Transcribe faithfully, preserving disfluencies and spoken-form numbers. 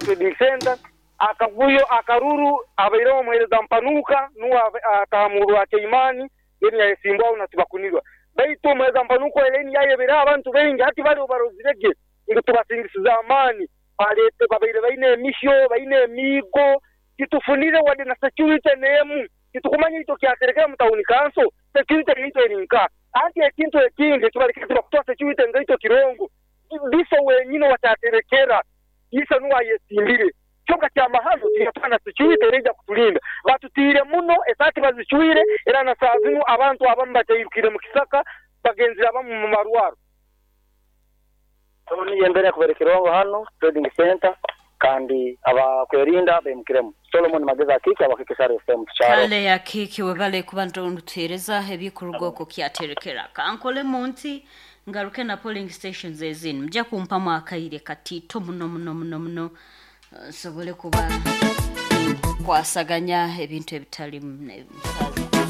Trading Center. Akavuyo, akaruru abaireho omuheereza Mpanuka, nuwe atamurwa Chaimani, then yayesimbwaho na Tibakunirwa. Baitu omuheereza Mpanuka elaini yayebereho abantu baingi, hati bali obarozirege ngu tubasingisize amaani, baleete babaire baine emihyo, baine emiigo, titufunire wadde na security n'emu. Titukumanya itwe kyaterekera mu town council, security yaitu eri nka. Anti ekintu ekindi ekibalekere tibakutuha security ngaitwe Kirongo, Biso wenyini owakyaterekera, Isa nuwe ayesimbire. Kyonka kyamahano tiyatuha na security ereija kutulinda. Batutiire muno, esaati bazicwire, era na saaha zinu abantu abamu bakyairukire mu kisaka, bagenzire abamu mu marwaro. Niyo embeera ekubaire Kirongo hanu Trading Center, kandi abakwerinda beimukiremu. Solomon Magezi Akiiki, Abakiki S R F M tukyaro. Kale Akiiki, webale kuba ntuhereza ebikuruga okwo kyaterekera. Kankole munti ngaruke na polling stations ezindi, mujja kumpamu akaire katito muno muno muno muno, nsobole kuba nkwasaganya ebintu ebitalimu.